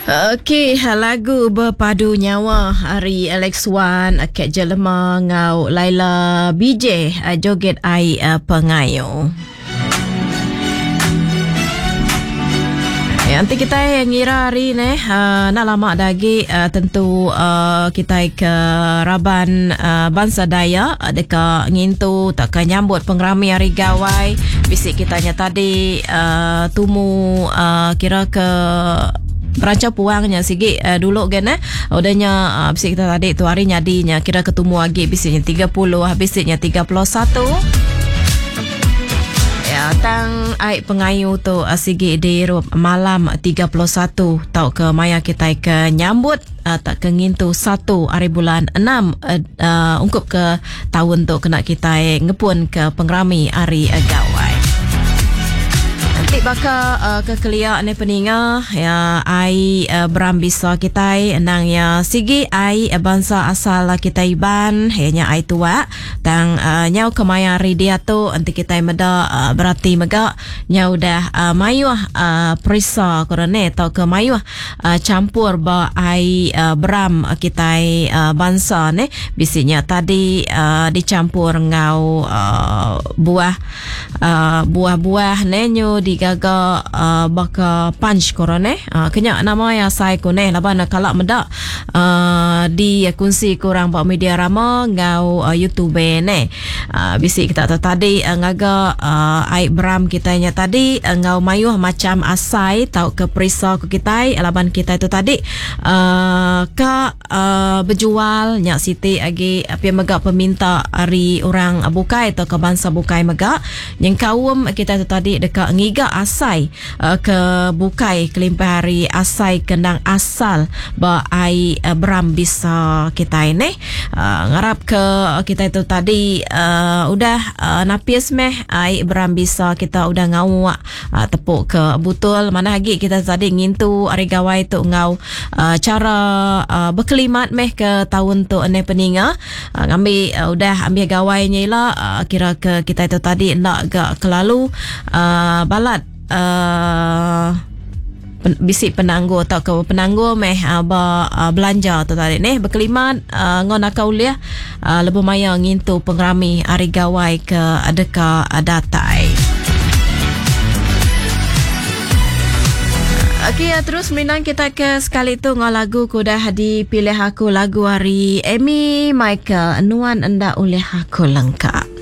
Okey, lagu Bepadu Nyawa ari Alex Wan, Cat Jelema enggau Laila BJ joget ai pengayu. Ya, nanti kita ngira hari ni uh, nak lama dah lagi uh, tentu uh, kita ke raban uh, bangsa Dayak deka ngintu tak ke nyambut pengerami hari gawai bisi kita nya tadi uh, tumu uh, kira ke Berancau puang nya sigi uh, dulu gen eh. Udah nya uh, bisi kita tadi tu hari nyadi nya kira ketumu agi bisi nya 30 bisi nya 31. Ya, tang ai pengayu tu uh, sigi diirup malam 31 tau ke maya kita ke nyambut uh, tak ke ngintu satu hari bulan 6 uh, uh, ungkup ke Taun tu kena kitai ngepun ke pengerami Hari Gawai. Enti baka uh, ke kelia ni peninga ya ai uh, beram bisa kitai endang ya sigi ai bansa asal kitai Iban iya nya ai tuak tang uh, nyau ke maya hari diatu enti kitai meda uh, berati mega nyau udah uh, mayuh uh, perisa ko ne tauka mayuh Champur ba ai beram kitai bansa neh bisi nya tadi dichampur enggau buah buah-buah neh nyu digaga baka punch ko orang neh. Kenya nama iya asai ku neh laban kala meda dikunsi ku orang ba media rama enggau youtube neh. Bisi kita tu tadi ngaga ai beram kitai nya tadi enggau mayuh macham asai tauka perisa ku kitai laban kitai tu tadi ka bejual nya siti agi pia mega peminta ari orang bukai tauka bansa bukai mega nyengkaum kitai tu tadi deka ngiga asai ke bukai kelimpah ari asai ke endang asal ba ai beram bisa kitai neh. Ngarap ke kitai tu tadi udah napis meh ai beram bisa kita udah ngauk tepu ke butul manah agi kita tadi ngintu hari gawai tu enggau chara bekelimat meh ke taun tu neh peninga ngambi udah ambih gawai nya ila kira ke kitai tu tadi enda ga kelalu balat bisi penanggul tauka penanggul meh ba belanja tu tadi neh bekelimat enggau naka ulih lebuh maya ngintu pengerami hari gawai ke deka datai. Okey, terus merindang kita ke sekali tu enggau lagu ke udah dipilih aku lagu ari Amy Michael Nuan Enda Ulih Aku Lengka.